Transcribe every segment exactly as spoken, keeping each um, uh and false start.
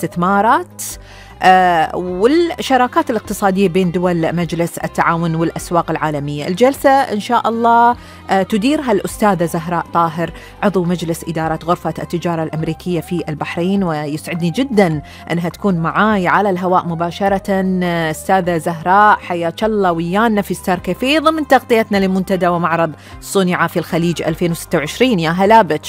الاستثمارات آه والشراكات الاقتصادية بين دول مجلس التعاون والأسواق العالمية. الجلسة إن شاء الله آه تديرها الأستاذة زهراء طاهر، عضو مجلس إدارة غرفة التجارة الأمريكية في البحرين، ويسعدني جدا أنها تكون معاي على الهواء مباشرة. أستاذة زهراء حياك الله ويانا في ستار كافيه ضمن تغطيتنا لمنتدى ومعرض صنع في الخليج ألفين وستة وعشرين. يا هلا بك.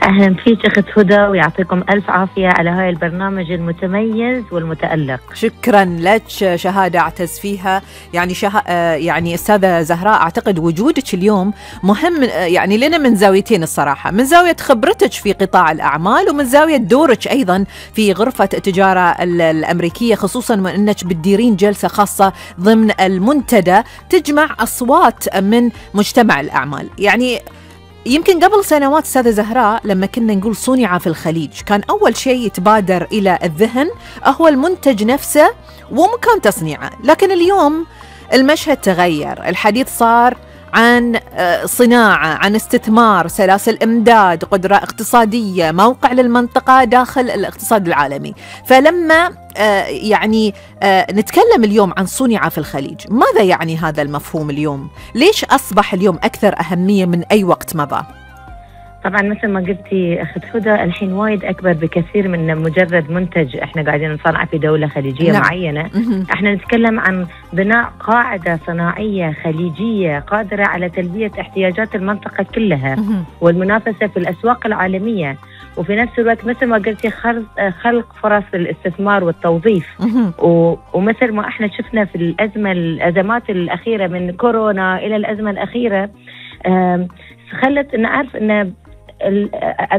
أهلا فيك أخت هدى، ويعطيكم ألف عافية على هاي البرنامج المتميز والمتألق. شكرا لك، شهادة أعتز فيها. يعني شه... يعني أستاذة زهراء، أعتقد وجودك اليوم مهم يعني لنا من زاويتين الصراحة، من زاوية خبرتك في قطاع الأعمال ومن زاوية دورك أيضا في غرفة التجارة الأمريكية، خصوصا وأنك بتديرين جلسة خاصة ضمن المنتدى تجمع أصوات من مجتمع الأعمال. يعني يمكن قبل سنوات أستاذة زهراء لما كنا نقول صنع في الخليج كان أول شيء يتبادر إلى الذهن هو المنتج نفسه ومكان تصنيعه، لكن اليوم المشهد تغير، الحديث صار عن صناعة، عن استثمار، سلاسل إمداد، قدرة اقتصادية، موقع للمنطقة داخل الاقتصاد العالمي. فلما يعني نتكلم اليوم عن صنع في الخليج، ماذا يعني هذا المفهوم اليوم؟ ليش أصبح اليوم أكثر أهمية من أي وقت مضى؟ طبعا مثل ما قلتي أخت هدى، الحين وايد أكبر بكثير من مجرد منتج احنا قاعدين نصنع في دولة خليجية نعم. معينة. احنا نتكلم عن بناء قاعدة صناعية خليجية قادرة على تلبية احتياجات المنطقة كلها والمنافسة في الأسواق العالمية، وفي نفس الوقت مثل ما قلتي خلق فرص الاستثمار والتوظيف. ومثل ما احنا شفنا في الأزمة الأزمات الأخيرة من كورونا إلى الأزمة الأخيرة، خلت نعرف أن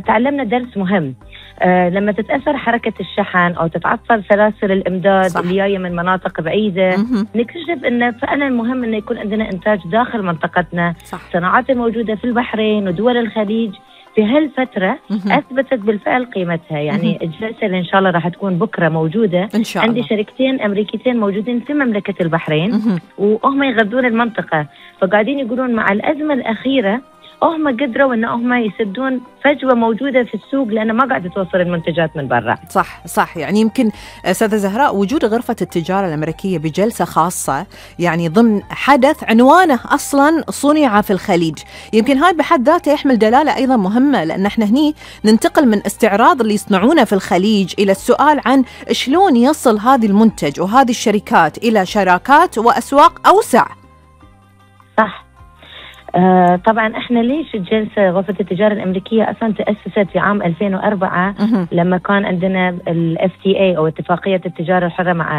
تعلمنا درس مهم. آه لما تتأثر حركة الشحن أو تتعطل سلاسل الإمداد صح. اللي جاية من مناطق بعيدة، مه. نكتشف أن فعلا مهم أن يكون عندنا إنتاج داخل منطقتنا. صح. صناعات الموجودة في البحرين ودول الخليج في هالفترة مه. أثبتت بالفعل قيمتها. يعني مه. الجلسة اللي إن شاء الله راح تكون بكرة موجودة إن شاء الله. عندي شركتين أمريكيتين موجودين في مملكة البحرين مه. وهم يغذون المنطقة، فقاعدين يقولون مع الأزمة الأخيرة هم قدروا ان هم يسدون فجوه موجوده في السوق لانه ما قاعده توصل المنتجات من برا. صح صح. يعني يمكن استاذه زهراء وجود غرفه التجاره الامريكيه بجلسه خاصه يعني ضمن حدث عنوانه اصلا صنع في الخليج، يمكن هاي بحد ذاته يحمل دلاله ايضا مهمه، لان احنا هني ننتقل من استعراض اللي يصنعونه في الخليج الى السؤال عن شلون يصل هذا المنتج وهذه الشركات الى شراكات واسواق اوسع. صح. آه طبعا احنا ليش الجلسه غرفه التجاره الامريكيه اصلا تاسست في عام ألفين وأربعة أه. لما كان عندنا الاف تي اي او اتفاقيه التجاره الحره مع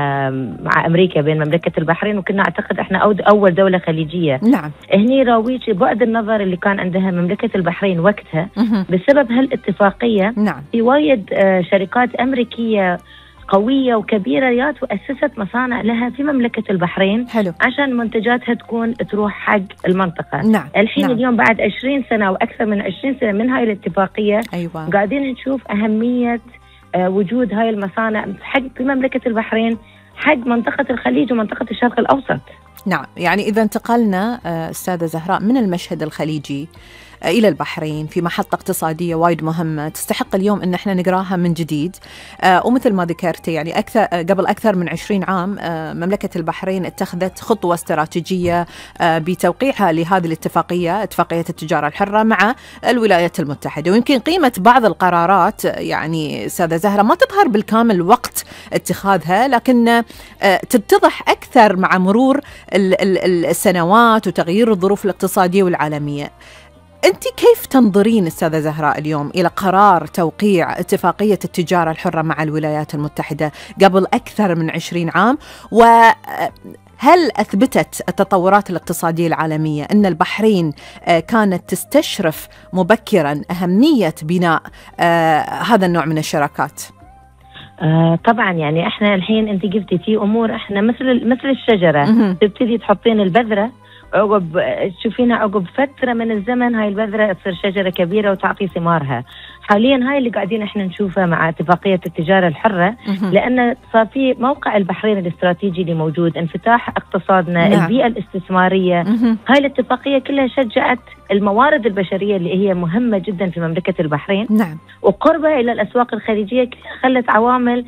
مع امريكا بين مملكه البحرين، وكنا اعتقد احنا اول دوله خليجيه. نعم. هني راويج بعد النظر اللي كان عندها مملكه البحرين وقتها أه. بسبب هالاتفاقيه. نعم. في وايد آه شركات امريكيه قوية وكبيرة يات وأسست مصانع لها في مملكة البحرين. حلو. عشان منتجاتها تكون تروح حق المنطقة. نعم. الحين نعم. اليوم بعد عشرين سنة وأكثر من عشرين سنة من هاي الاتفاقية أيوة. قاعدين نشوف أهمية آه وجود هاي المصانع حق في مملكة البحرين حق منطقة الخليج ومنطقة الشرق الأوسط. نعم. يعني إذا انتقلنا أستاذة زهراء من المشهد الخليجي إلى البحرين في محطة اقتصادية وايد مهمة تستحق اليوم إن احنا نقراها من جديد. آه ومثل ما ذكرت يعني أكثر قبل أكثر من عشرين عام آه مملكة البحرين اتخذت خطوة استراتيجية آه بتوقيعها لهذه الاتفاقية، اتفاقية التجارة الحرة مع الولايات المتحدة. ويمكن قيمة بعض القرارات يعني أستاذة زهرة ما تظهر بالكامل وقت اتخاذها، لكن آه تتضح أكثر مع مرور ال ال السنوات وتغيير الظروف الاقتصادية والعالمية. أنت كيف تنظرين أستاذة زهراء اليوم إلى قرار توقيع اتفاقية التجارة الحرة مع الولايات المتحدة قبل أكثر من عشرين عام؟ وهل أثبتت التطورات الاقتصادية العالمية أن البحرين كانت تستشرف مبكرا أهمية بناء هذا النوع من الشراكات؟ آه طبعا يعني احنا الحين انت قلتي في امور احنا مثل مثل الشجرة تبتدي تحطين البذرة، عقب تشوفينها عقب فترة من الزمن هاي البذرة تصير شجرة كبيرة وتعطي ثمارها. حاليا هاي اللي قاعدين احنا نشوفها مع اتفاقية التجارة الحرة، لأن صار في موقع البحرين الاستراتيجي اللي موجود، انفتاح اقتصادنا، نعم. البيئة الاستثمارية، هاي الاتفاقية كلها شجعت الموارد البشرية اللي هي مهمة جدا في مملكة البحرين، نعم. وقربها إلى الأسواق الخارجية خلت عوامل